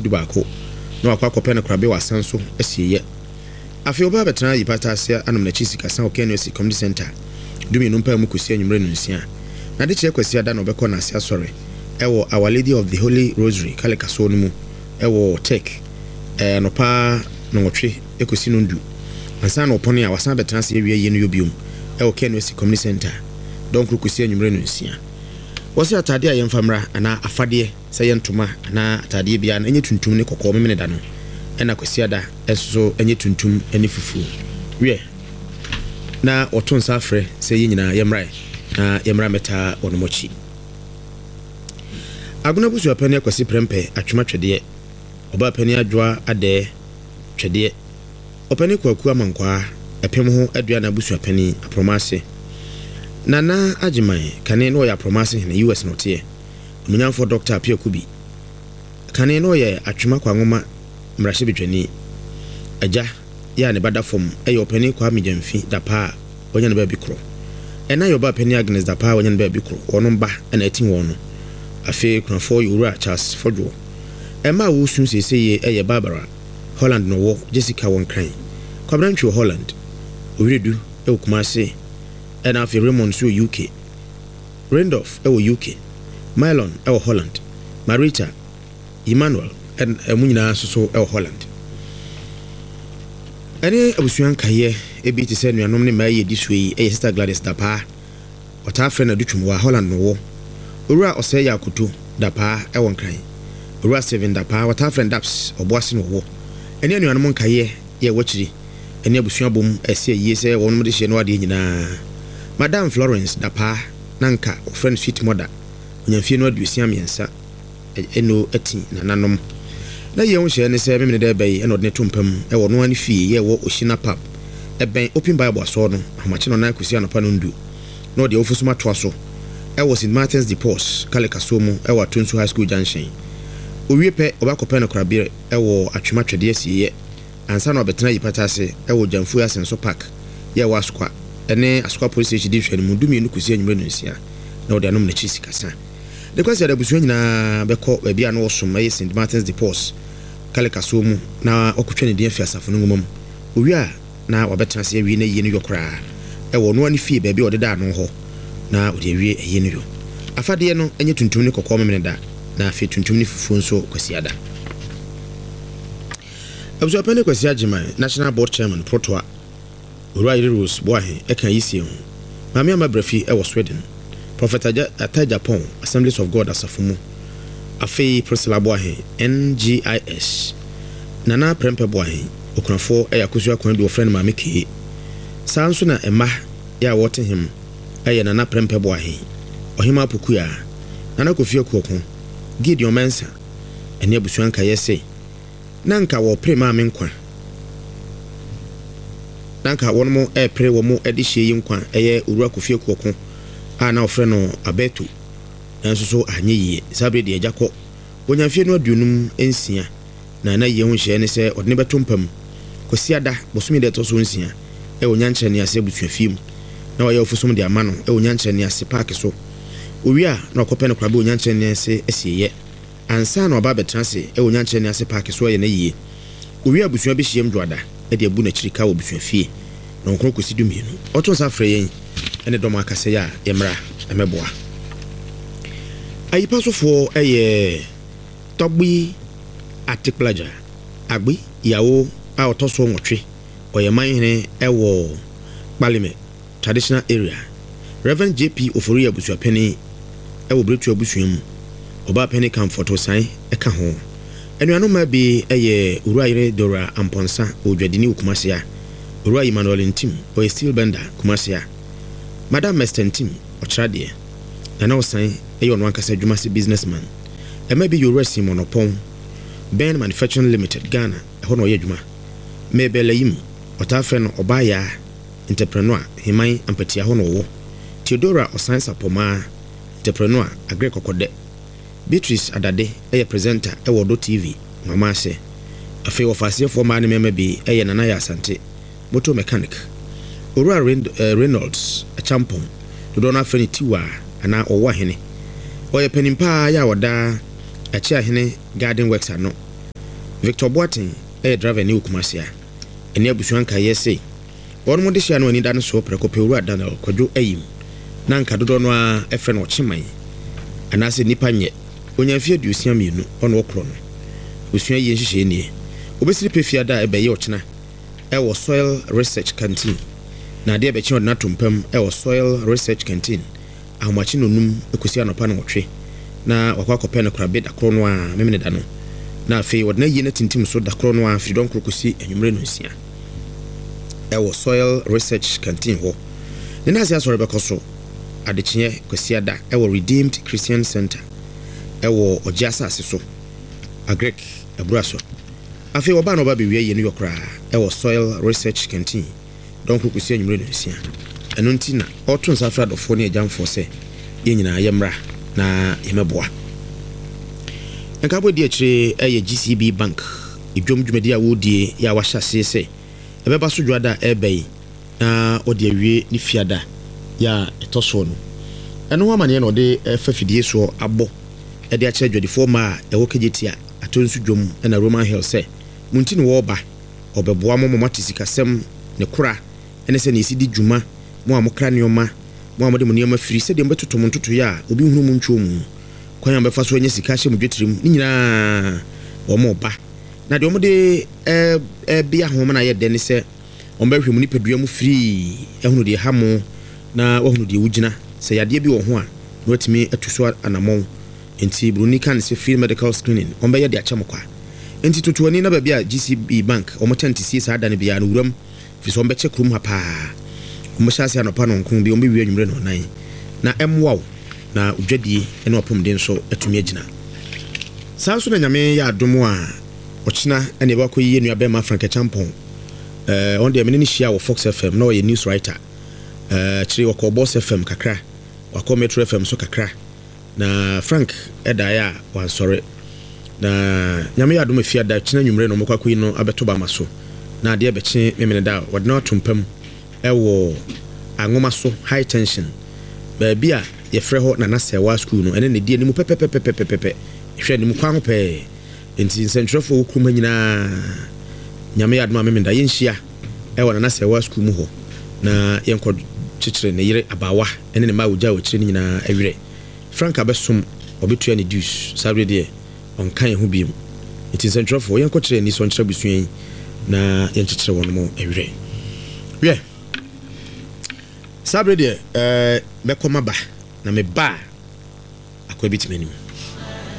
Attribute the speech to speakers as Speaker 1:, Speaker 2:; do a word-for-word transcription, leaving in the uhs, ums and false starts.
Speaker 1: du baako na wakɔ akɔpɛ no korabea wɔ asan so asieeɛ. Afei ɔbaa bɛtena Yipata ase anom n'akyi sikasa wɔ K N U S Community Center dumienu mpaa mu kɔsi anwummerɛ no nsia. Na adekyerɛ Kwasiada na ɔbɛkɔ n'ase asɔre ɛwɔ Our Lady of the Holy Rosary Kalikasoɔ no mu ɛwɔ Tech ɛɛ anɔpa nɔnwɔtwe ɛkɔsi no ndu ansa na ɔpɔne a wasan bɛtena ase awie yie no yɛ biom ɛwɔ K N U S Community Center dɔnkoro kɔsi anwummerɛ no nsia. Wɔsɛ atadeɛ a yɛmfa mmra anaa afadeɛ sɛ yɛ ntoma anaa atadeɛ biara no ɛnyɛ tuntum ne kɔkɔɔ memene da no, ɛna Kwasiada ɛnso so ɛnyɛ tuntum ne fufuo. Wiɛ, na wɔto nsa afrɛ sɛ yɛn nyinaa yɛmmra na yɛmmra mɛtaa wɔnom akyi. Agona busuapɛne Akwasi Prɛmpɛ Atwoma Twɛdeɛ, ɔbaa pani Adwoa Adɛɛ Twɛdeɛ, ɔpani Kwaku Amankwaa ɛpem ho aduana abusuapani Aprɔma ase. Nana Agyeman kane na ɔyɛ Aprɔma ase hene, U S na ɔteɛ. Omunyamfoɔ Doctor Apia Kubi kane na ɔyɛ Atwema Kwanwoma mmarahyɛbadwani. Agya yɛ a ne ba da fam ɛyɛ ɔpani Kwame Gyamfi Dapaa a wanya ne baabi korɔ. Ɛna yɛ ɔbaa pani Agnes Dapaa a wanya ne baabi korɔ. Wɔnom ba ɛna ɛti wɔn no. Afei kunafoɔ yɛ Owura Charles Fɔdwoɔ. Ɛma a wɔresu seesei yie ɛyɛ Barbara, Holland na ɔwɔ, Jessica wɔ Nkran, Kwabena Ntwi wɔ Holland, Owiredu ɛwɔ Kumase, ɛna afei Raymond nso wɔ U K, Randolph ɛwɔ U K, Mylon ɛwɔ Holland, Marita, Emmanuel ɛmu nyinaa nso so ɛwɔ Holland. Ɛne abusua nkaeɛ ebi te sɛ nuanom ne mmaa yi edi so yi ɛyɛ Sister Gladys Dapaa, ɔtaa frɛ no Adutwum, wɔ Holland no wɔ, Owura Ɔsɛe yɛ Akoto Dapaa ɛwɔ Nkran, Owura Steven Dapaa, wɔtaa frɛ no Daps, Ɔboase no wɔwɔ. Ɛne anuanom nkaeɛ yɛ ɛwɔ akyiri ɛne abusua bom ɛsɛ yie sɛ wɔn de hyɛ no adeɛ nyinaa. Madam Florence Dapaa, na nka wɔfrɛ no Sweet Mother, onyamfie no aduosia mmiɛnsa ɛno ati nananom na yɛn ho hyɛ ne sɛ memene dɛ bɛyi ɛna ɔde ne to mpam ɛwɔ noa ne fie yɛ ɛwɔ Ohyina Pub ɛbɛn Open Bible asɔɔ no ahomakye no nan kɔsi anɔpa no ndu na ɔde awofo som atoa so ɛwɔ Saint Martins de Porres Kalikasoɔ mu ɛwɔ Atonsu High School junction. Owie pɛ ɔbɛakɔpɛ no korabere ɛwɔ Atwema Twɛdeɛ asieeɛ ansa na ɔbɛtena Yipata ase ɛwɔ Gyamfue Asenso Park yɛ ɛwɔ Asokwa ɛne Asokwa Police Station di nhwɛ no mu dumienu kɔsi anwummerɛ no nsia na ɔde anom n'akyi sikasa de kwasi ada. Abusua nyinaa bɛkɔ baabi a na wɔsom ɛyɛ Saint Martins de Porres Kalikasoɔ mu na ɔkɔtwa ne din afi asafo no nwoma mu. Owie a na wabɛtena ase awie na yie no yɔ koraa ɛwɔ ɔno ne fie baabi a ɔdeda ano hɔ na ɔde awie ayie no yɔ. Afadeɛ no ɛnyɛ tuntum ne kɔkɔɔ memene da, na afei tuntum ne fufuo nso Kwasiada. Abusuapɛne Kwasi Agyeman, National Board Chairman Protoa, Owura Yere Rose Boahe ɛka yi sie ho. Maame Ama Brafi ɛwɔ Sweden, Prophet Ata Japan Assemblies of God asafo mu. Afei Priscilla Boahe, N G I S, Nana Prɛmpɛ Boahe, okunafoɔ ɛyɛ Akosua Kwan du, wɔfrɛ no Maame Kee. Saa nso na ɛma yɛ a wɔte hem ɛyɛ Nana Prɛmpɛ Boahe, Ɔhema Apokua, Nana Kofi Akuɔko, Gideon Mensa ɛne abusua nkaeɛ se na nka wɔpere maame nkwa na nka wɔn ɛrepere wɔn de hyia yi nkwa ɛyɛ Owura Kofi Akuɔko a na wɔfrɛ no Abeto, nanso so anyɛ yie. Saa bere deɛ agya kɔ wɔnya mfeɛ no aduonum nsia na na yie ho nhyɛ ne sɛ ɔde ne bɛto mpam Kwasiada bosome deɛ ɛtɔ so nsia ɛwɔ Nyankyerɛ ne ase abusuafie mu na wɔyɛ ofosom de ama no ɛwɔ Nyankyerɛ ne ase paaki so. Owie a na ɔkɔpɛ no korabɛ wɔ Nyankyerɛ ne ase asieeɛ ansa na ɔba abɛtena ase ɛwɔ Nyankyerɛ ne ase paaki so ɛyɛ n'ayie. Owie abusua bɛhyiam dwoada ɛde abu n'akyiri ka wɔ abusuafie na ɔnkoro kɔsi du mmienu. Ɔto nsa frɛ yɛn ɛne dɔm akasɛ yɛ a yɛmmra ɛmɛboa. Ayipa sofoɔ ɛyɛ Tɔgbi Atikplagya Agbi Yawo a ɔtɔ so nwɔtwe, ɔyɛ manhene ɛwɔ Kpalime Traditional Area. Reverend J P Ofori abusuapɛni ɛwɔ Beretu abusua mu. Ɔbaa pɛni Comfort Osan ɛka ho. Anuanom mmaa bi ɛyɛ Owura Yere Dora Ampɔnsa, ɔdwadini wɔ Kumase a Owura Emmanuel Ntim, ɔyɛ steel bender, Kumase a Madam Mester Ntim, ɔkyerɛ adeɛ. Nana Ɔsan ɛyɛ ɔno ankasa adwuma sɛ businessman. Ɛma bi yɛ Owura Simon Ɔpɔn, Ben Manufacturing Limited, Ghana, ɛhɔ na ɔyɛ adwuma. Mabel Ayim, ɔtaa frɛ no Ɔbaayaa, entrepreneur, Heman Ampatia hɔ na ɔwɔ. Theodora Ɔsan Sapɔmaa, entrepreneur, Agre Kɔkɔdɛ. Beatrice Adade ɛyɛ presenter ɛwɔ Ɔdɔ T V mama ase. Afei wɔfa aseɛfoɔ mmaa ne mmarima bi ɛyɛ Nana Yɛ Asante, motor mechanic, Owura Reynolds Achampɔn, dodoɔ no afrɛ no Tiwa anaa Ɔwɔ Ahene, ɔyɛ panin paa yɛ a ɔda Akyi Ahene Garden Works ano. Victor Boateng ɛyɛ driver ne wɔ Kumase a ɛne abusua nkaeɛ se wɔnom de hyia no ani da no soɔ prɛko pɛ. Owura Daniel Kwadwo Ayim, na nka dodoɔ no a ɛfrɛ no Ɔkyeman anaasɛ nnipa nyɛ, onya mfe aduosia mmienu. Ɔno ɔkorɔ no abusua yie nhyehyɛe nie: obɛsiri pɛ fiada a ɛbɛyɛ ɔkyena ɛwɔ Soil Research Canteen, na adeɛ bɛkye ɔde no ato mpam ɛwɔ Soil Research Canteen ahomakye nonum ɛkɔsi anɔpa no wɔtwe, na wakɔ akɔpɛ no korabe da korɔ no a memene da no, na afei wɔde no ayie no atintim so da korɔ no a firi dɔnkoro kɔsi anwummerɛ no nsia ɛwɔ Soil Research Canteen hɔ. Ne nase asɔre bɛkɔ so adekyeɛ Kwasiada ɛwɔ Redeemed Christian Center ɛwɔ Ɔgye asase so, Agric abura so. Afei wɔbaa na ɔba bɛwia yie no yɔ koraa ɛwɔ Soil Research Canteen dɔnkoro kɔsi anwummerɛ no nsia. Ɛno nti na ɔto nsa frɛ adɔfoɔ ne agyamfoɔ sɛ yɛn nyinaa yɛmmra na yɛmɛboa. Nkaabɔ di akyire ɛyɛ G C B Bank edwom dwumadi a wɔredie yɛ a wahyɛ aseɛ sɛ ɛbɛba so dwada a ɛreba yi na wɔde awie ne fiada yɛ a ɛtɔ soɔ no. Ɛno ho amanneɛ na ɔde ɛfa fidie soɔ abɔ ɛde akyerɛ adwadifoɔ mmaa a ɛwɔ Kegyetia atɔ nso dwom ɛna Roman Hill sɛ mo nti ne wɔreba ɔbɛboa mo ma moate sikasɛm ne kora ɛne sɛ ne ɛsi di dwuma, mo a mokra nneɔma, mo a mode mo nneɔma firi, sɛdeɛ mobɛtoto mo ntotoeɛ a obi nhunu mu ntwoo mu, kwan a mobɛfa so anya sika ahyɛ mo dwetirim ne nyinaa wɔn ba. Na deɛ wɔde ɛbea ho ma no ayɛ dɛ ne sɛ wɔn bɛhwɛ mu nipadua mu firii ɛhunu deɛ ha mo na wɔhunu deɛ wogyina, sɛ yadeɛ bi wɔ ho a na watumi atu so anammɔn. Nti buroni ka ne sɛ free medical screening wɔn bɛyɛ de akyɛ mo kwa. Nti toto ani na baabi a G C B Bank wɔn tent sie saa da no biara no wuram, firi sɛ wɔn bɛkyɛ kurom ha paa. Wɔn bɛhyɛ ase anɔpa no nkron bi, wɔn bɛwie anwummerɛ no ɔnan, na ɛmmoa wo na odwadie ne wapɔmuden nso atumi agyina saa. Nso na Nyame yɛ adom a ɔkyena ɛne ɛbɛkɔ yie nua bɛrima Frank Acheampong. ɛɛ ɔno deɛ mene ne hyia wɔ Fox F M na ɔyɛ news writer. ɛɛ kyerɛ wɔkɔ Boss F M kakra, wakɔ Metro F M so kakra, na Frank ɛdaeɛ a wansɔre. Na Nyame yɛ adom afiada kyena nwummerɛ no ɔmɔkɔ akɔyi no abɛto bama so, na adeɛ bɛkye memene da a wɔde no ato mpam ɛwɔ Anwoma so High Tension, baabi a yɛfrɛ hɔ Nana Sɛwa School no, ɛne ne di anim pɛpɛpɛpɛpɛpɛ, hwɛ anim kwan ho pɛɛ. Nti nsɛntwerɛfoɔ wɔ kurom ha nyinaa, Nyame yɛ adom a memenda yɛnhyia ɛwɔ Nana Sɛwa School mu hɔ na yɛnkɔ kyekyere ne yere abaawa ɛne ne mma a wɔgya wɔ akyire no nyinaa awerɛ. Frank abɛsom, ɔbɛtua ne dues. Saa berɛ deɛ ɔnka yɛn ho biom. Nti nsɛntwerɛfoɔ, yɛnkɔkyerɛ ani sɔ nkyerɛ abusua yi na yɛnkyekyere wɔn mo awerɛ. Wiɛ, saa berɛ deɛ ɛɛ mɛkɔ maba, na meba a akɔ bi tumi anim.